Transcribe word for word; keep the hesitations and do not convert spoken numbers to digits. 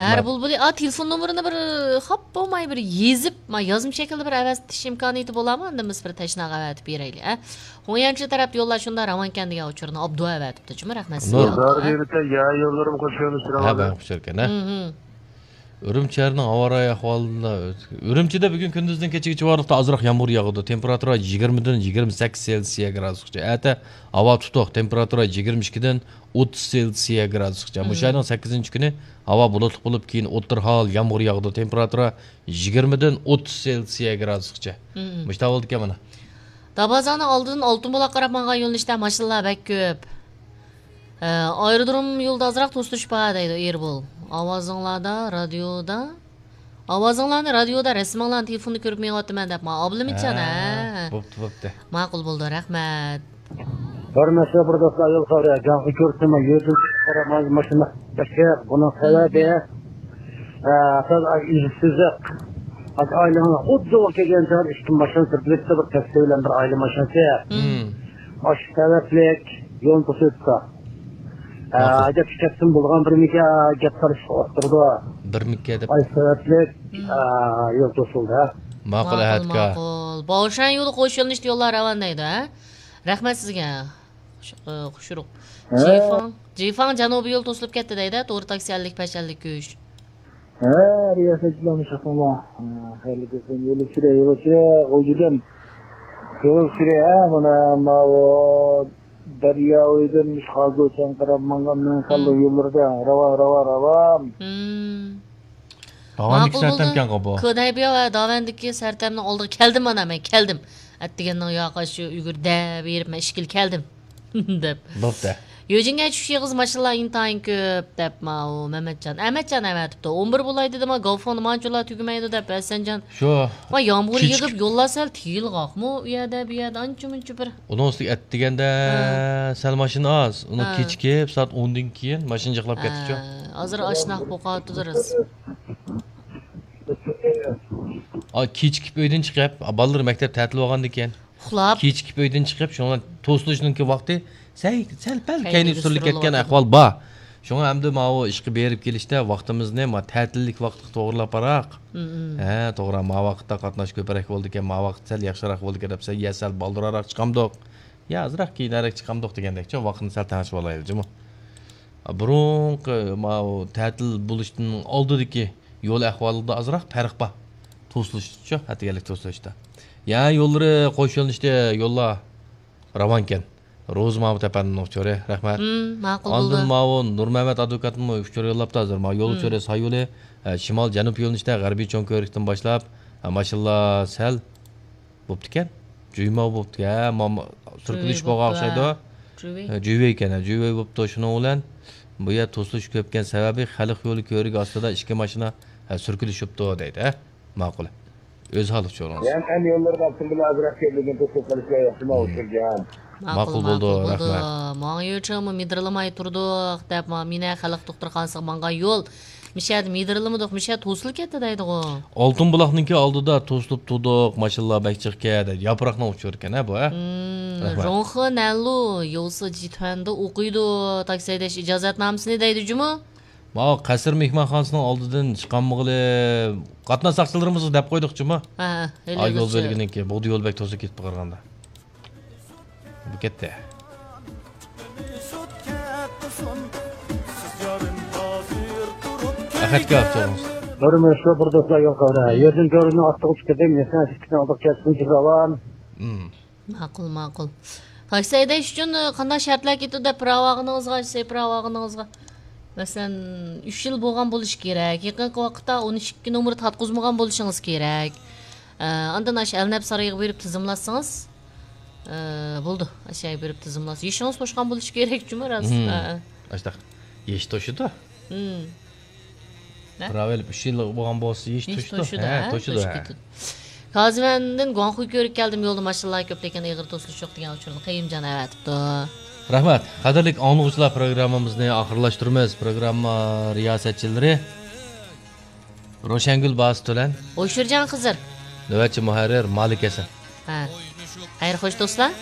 ھەر بۇلبۇلى، ئا، تېلېفون نومۇرىنى بىر خاپا بولماي بىر يېزىپ، ما، يازما شەكىلدە بىر ئەۋەتىش ئىمكانىيىتى بولامۇ؟ ئاندىن بىز بىر تەشناغا ئەۋەتىپ بېرەيلى، ھە؟ خۇڭيەنچى تەرەپتە يوللار شۇنداق راۋانكەن دېگەن ئۇچۇرنى ئابدۇ ئەۋەتىپتۇ جۇمۇ، رەھمەت سىزگە. نۇر. دار دېمىتە يا يوللىرىم خوش يوللىشىرىڭ. ھە، بەك خۇش ئىكەن، ھە. ئۈرۈمچى شەھىرىنىڭ ھاۋا رايى ئەھۋالىدا، ئۈرۈمچىدە بۈگۈن كۈندۈزدىن كېچىگىچە ئارىلىقتا ئازراق يامغۇر ياغىدۇ. تېمپېراتۇرا يىگىرمىدىن يىگىرمە سەككىز سېلسىيە گرادۇسقىچە. ئەتە ھاۋا تۇتۇق، تېمپېراتۇرا يىگىرمە ئىككىدىن ئوتتۇز سېلسىيە گرادۇسقىچە. مۇشۇ ئاينىڭ سەككىزىنچى كۈنى ھاۋا بۇلۇتلۇق بولۇپ، كېيىن ئوتتۇرا ھال يامغۇر ياغىدۇ. تېمپېراتۇرا يىگىرمىدىن ئوتتۇز سېلسىيە گرادۇسقىچە. مۇشۇنداق بولىدىكەن مانا. دابازانىڭ ئالدىدىن ئالتۇن بۇلاققا قاراپ ماڭغان يۆنىلىشتە ماشىنىلار بەك كۆپ. ئە، ئايرودروم يولىدا ئازراق توسۇلۇش بار دەيدۇ ئېربول. ئاۋازىڭلاردا، رادىيودا، ئاۋازىڭلارنى رادىيودا، رەسىمىڭلارنى تېلېفوندا كۆرۈپ مېڭىۋاتىمەن دەپ، ما ئابلىمىتجان، ھە، ھە. بوپتۇ، بوپتۇ. ماقۇل بولدى، رەھمەت. بىر نەچچە بىر دوستلار يول خەۋىرى، جانغا كۆرسىمۇ يۈزۈم قارا ماشىنا بەشەر. بۇنىڭ سەۋەبى، ئە، سىز ئىزسىزلىق. ئايلىڭىز خۇددى ئۇ كەلگەن چاغدا ئىككى ماشىنا سۈركىلىپتۇ، بىر تاكسى بىلەن بىر ئائىلە ماشىنىسى. مم. ئاشۇ سەۋەبلىك يول توسۇلۇپتۇ. ئە، ماقۇل. ھەيدەپ كەتسىمۇ بولغان بىرمىكى گەپ قىلىشقا ئولتۇرىدۇ. بىرمىكى دەپ. ئاي سەۋەبلىك، مم. ئە، يول توسۇلدى. ماقۇل، ماقۇل، ئەھەتكا. ماقۇل. باۋشان يولى قوش يۆنىلىشتە يوللار راۋان دەيدۇ، ھە؟ رەھمەت سىزگە. خۇش-، ئە، خۇشرۇق. ھە؟ جىفاڭ، جىفاڭ جەنۇبىي يول توسۇلۇپ كەتتى دەيدۇ، توغرا تاكسى ئەللىك بەش، ئەللىك ئۈچ. ھە، رىياسەتچىلەرمۇ شۇنداق. ھە، خەيرلىك بولسۇن. يول ئۈستىدە، يول ئۈستىدە، غۇلجىدىن. يول ئۈستىدە، ھە، مانا، ماۋۇ دەريا بويىدىن خازۇچان قاراپ ماڭغان مېڭە خەللۇ يوللىرىدا راۋان، راۋان، راۋان. مم. داۋاندىكى ماقۇل بولدى. سەرتەمكەنغۇ بۇ. كودەيبيا ۋە داۋەندىكى سەرتەمنىڭ ئالدىغا كەلدىم، مانا مەن كەلدىم. ئەتىگەننىڭ ياقى شۇ ئۈگۈر دەپ بېرىپ مەن ئىشكىلى كەلدىم. دەپ. بوپتۇ. يۆجىڭگە چۈشۈش ئېغىز ماشىنىلار ئىنتايىن كۆپ دەپ ماۋۇ مەمەتجان. ئەمەتجان ئەۋەتىپتۇ. ئون بىر بولاي دېدىما، گاۋفوندا مانچىلا تۈگىمەيدۇ دەپ ھەسەنجان. شۇ. ۋاي، يامغۇر كېچىك- يېغىپ، يوللار سەل تىيىلغاقمۇ ئۇ يەردە، بۇ يەردە ئانچە مۇنچە بىر. ئۇنىڭ ئۈستىگە ئەتىگەندە ھە. سەل ماشىنا ئاز. ئۇنىڭ ھە. كېچىكىپ، سائەت ئوندىن كېيىن ماشىنا جىقلاپ ھە. كەتتىچۇ. ھازىر ئاشناق بولۇپ قاپتۇ راست. ئا، كېچىكىپ ئۆيدىن چىقىپ، ئا، بالىلىرى مەكتەپ تەتىل بولغاندىكىن. ئۇخلاپ. كېچىكىپ ئۆيدىن چىقىپ، شۇڭا توسۇلۇشنىڭكى ۋاقتى سەل، سەل پەل كەينىگە سۈرۈلۈپ كەتكەن ئەھۋال بار. شۇڭا ئەمدى ماۋۇ ئىشقا بېرىپ كېلىشتە ۋاقتىمىزنى ما تەتىللىك ۋاقىتقا توغرىلاپ باراق. مم. ھە، توغرا، ما ۋاقىتتا قاتناش كۆپرەك بولىدىكەن، ما ۋاقىت سەل ياخشىراق بولىدىكەن دەپ، سەل، يە سەل بالدۇرراق چىقامدۇق، يا ئازراق كېيىنرەك چىقامدۇق دېگەندەكچۇ، ۋاقىتنى سەل تەڭشىۋالايلى جۇمۇ. بۇرۇنقى ماۋۇ تەتىل بولۇشتىن ئالدىدىكى يول ئەھۋالىدا ئازراق پەرق بار. توسۇلۇشچۇ، ئەتىگەنلىك توسۇلۇشتا. يا يوللىرى قوش يۆنىلىشتە يوللار راۋانكەن. روزى ماۋۇ تەپەندىنىڭ ئۇچۇرى، رەھمەت. مم، ماقۇل ئاندىن بولدى. ماۋۇ نۇرمەمەت ئادۋوكاتمۇ ئۇچۇر يوللاپتۇ ھازىر. ماۋۇ يول مم. ئۇچۇرى ساي يولى، ئە، شىمال جەنۇب يۆنىلىشتە غەربىي چوڭ كۆۋرۈكتىن باشلاپ، ئە، ماشىنىلار سەل بوپتىكەن. جۈيماۋ بوپتۇ. ھە، ماما، سۈركىلىش جۈي بولغان بوپتۇ، ئوخشايدۇ. ھە. جۈي. ھە، جۈيۋەي ئىكەن، ھە، جۈيۋەي بوپتۇ. شۇنىڭ بىلەن بۇ يەر توسۇلۇشقا كۆپكەن سەۋەبى خەلق يولى كۆۋرۈكى ئاستىدا ئىككى ماشىنا، ھە، سۈركىلىشىپتۇ دەيدۇ، ھە. ماقۇل. ئۆز ھالىچە ئورۇنسىز. يەنى ئەمدى يوللىرىغا ئاپتوموبىل ئازراق كەلگەن توسۇپ قېلىشلار ياخشىما ئۇچرىغان. ماقۇل، ماقۇل بولدى، ماقۇل بولدى. رەھمەت. ماڭا يۆچەڭمۇ مىدىرلىماي تۇردۇق دەپ، ما، مىنە خەلق دوختۇرخانىسىغا ماڭغان يول. مىشەدە مىدىرلىمىدۇق، مىشە توسۇلۇپ كەتتى دەيدىغۇ. ئالتۇن بۇلاقنىڭكى ئالدىدا توسۇلۇپ تۇردۇق، ماشىنىلار بەك جىق ئىكەن دەيدۇ. ياپراقنىڭ ئۇچۇرى ئىكەن، ھە، بۇ، ھە؟ مم، رەھمەت. 融合南路有四集团 دا ئوقۇيدۇ، تاكسى ھەيدەش ئىجازەتنامىسىنى دەيدۇ جۇمۇ. ماۋۇ قەسىر مېھمانخانىسىنىڭ ئالدىدىن چىقالمىغىلى، قاتناش ساقچىلىرىمىزغا دەپ قويدۇق جۇمۇ. ھە، ھە، ھېلى ئا، يول بەلگىنىڭكى، بۇغدا يول بەك توسۇپ كېتىپ قالغاندا. بۇ كەتتى. ئەخەتكە ئاپتوبۇس. بىر مىنۇت، بىر دوستلار يول قاۋرا. يەردىن كۆرۈنۈڭ ئاتلىق ئۈچ كېتىم، يەسەن ئىككىسىنى ئالدىغا كەتسۇن، جىبراۋان. مم. ماقۇل، ماقۇل. تاكسى ھەيدەش ئۈچۈن، ئە، قانداق شەرتلەر كېتىدۇ دەپ پىراۋاغىنىڭىزغا، سەي پىراۋاغىنىڭىزغا، مەسىلەن، ئۈچ يىل بولغان بولۇشى كېرەك، يېقىنقى ۋاقىتتا ئون ئىككى نومۇر تارتقۇزمىغان بولۇشىڭىز كېرەك. ئە، ئاندىن ئاشۇ ئەلنەپ سارىيىغا بېرىپ تىزىملاتسىڭىز، ئە، بولىدۇ. ئاشۇ يەرگە بېرىپ تىزىملاتسا. يېشىڭىز توشقان بولۇشى كېرەك جۇمۇ، راست. مم. ھە، ھە. ئاشتاق. يېشى توشىدۇ. مم. نە؟ پىراۋا ئېلىپ ئۈچ يىل بولغان بولسا، يېشى توشىدۇ. توشىدۇ، ھە، ھە، توشىدۇ، توشۇپ ھە. كېتىدۇ. كازىۋەندىن گۇاڭخۇي كۆۋرۈككە كەلدىم، يولدا ماشىنىلار كۆپ، لېكىن ئېغىر توسۇلۇش يوق دېگەن ئۇچۇرنى قېيۇمجان ئەۋەتىپتۇ. رەھمەت. قەدىرلىك ئاڭلىغۇچىلار، پروگراممىمىزنى ئاخىرلاشتۇرىمىز. پروگرامما رىياسەتچىلىرى روشەنگۈل باسىت تۆلەن. ئويشۇرجان خىزىر. نۆۋەتچى مۇھەررىر مالىك ھەسەن. ھە. خەير خوش دوستلار.